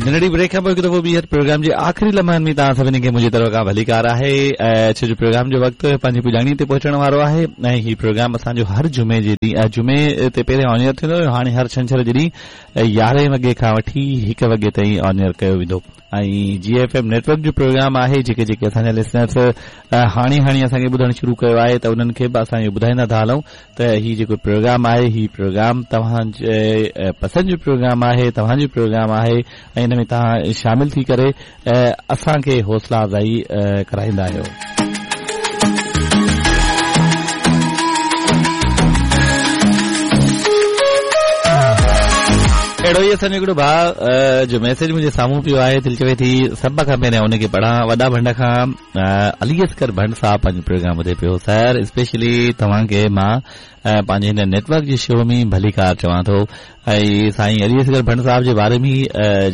ننڍڙي بريڪ کان پوء هڪ دفعو ٻيهر پروگرام جي آخري لمحن ۾ توهان سڀني کي منهنجي طرف کان ڀليڪار آهي ڇو جو پروگرام جو وقت پنهنجي پڄاڻي تي پهچڻ وارو آهي ۽ هي پروگرام اسان جو هر جمعي جي ڏينهن جمعي تي پهرين آن ايئر ٿيندو هيو هاڻي هر ڇنڇر جي ڏينهن يارهين وڳي کان وٺي هڪ وڳي تائين آن ايئر ڪيو ويندو ۽ جي ايف ايم نيٽ ورڪ جو پروگرام آهي جيڪي جيڪي اسان جا لسنرس هاڻي هاڻي اسان کي ٻڌڻ شروع ڪيو آهي ته انهن کي به اسان اهو ٻڌائيندا ٿا هلون ته هي جيڪو پروگرام آهي هي پروگرام توهان جي پسند جو پروگرام آهي توهان جو پروگرام آهي ۽ ان ۾ توهان شامل ٿي ڪري اسان کي حوصلا افزائي ڪرائيندا آهيو. اهڙو ئي اسان جو هڪڙو ڀاء جو ميسيج منهنجي سامهون پيو آهي دل چوي ٿي سڀ کان پهريان ان کي پڙهان وڏا ڀنڊ کان علي اصغر ڀنڊ صاحب پنهنجو پروگرام ٻڌي پيو سر اسپيشلي توهان کي مان پنهنجي هن نيٽ ورڪ جي شو ۾ ڀليڪار چوان ٿو ۽ سائين علي اصغر ڀنڊ صاحب جي باري ۾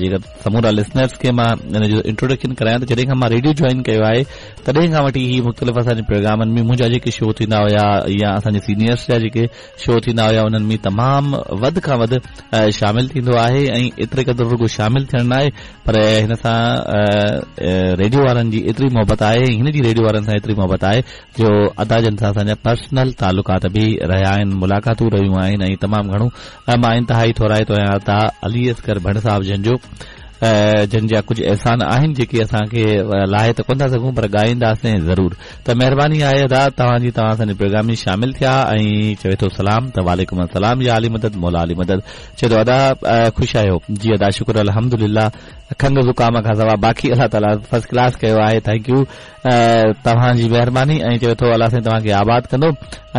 جيڪر سمورا لسنرس کي مان ان جو انٽروڊڪشن ڪرايان ته جڏهن کان مان ريڊيو جوائن ڪيو آهي تڏهن کان وٺي هي مختلف اسان جي پروگرامن ۾ منهنجا جيڪي شو ٿيندا هيا يا اسان جي سينيئرس جا جيڪي شو ٿيندا هيا انهن ۾ تمام وڌ کان وڌ شامل ٿيندو آهي ۽ ايتري قدر رڳو شامل ٿيڻ ناهي پر هن سان ريڊيو وارن جي ايتري محبت آهي ۽ هن جي ريڊيو وارن سان ايتري محبت آهي جو ادا جن سان اسان جا پرسنل تعلقات به رهيا آهن ملاقاتون رهيون آهن ۽ تمام گهڻو مان انتهائي ٿورائتو آهيان ادا علي اصغر ڀنڊ صاحب جن جو جن جا ڪجهه احسان آهن جيڪي اسان کي لاهي ته ڪونه ٿا سگهون پر ڳائينداسين ضرور ته مهرباني آهي ادا توهان جي توهان اسان جي پروگرام ۾ شامل ٿيا ۽ چوي ٿو سلام ته وعليڪم السلام يا علي مدد مولا علي مدد چئي ٿو ادا خوش آهيو جي ادا شڪر الحمدلله کنگهه زڪام کان سوا باقي الله تعالي فرسٽ ڪلاس ڪيو آهي thank you توهان جي مهرباني ۽ چوي ٿو الله سائين توهان کي آباد ڪندو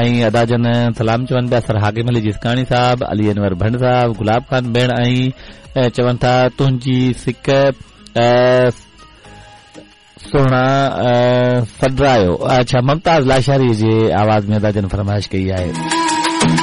۽ ادا جن سلام چون پيا سر حاڪم علي جسڪاڻي صاحب علي انور ڀنڊ صاحب گلاب خان ڀيڻ ۽ چون ٿا تنهنجي سڪ سهڻا سڏرايو اڇا ممتاز لاشاري جي آواز ۾ ادا جن فرمائش ڪئي آهي.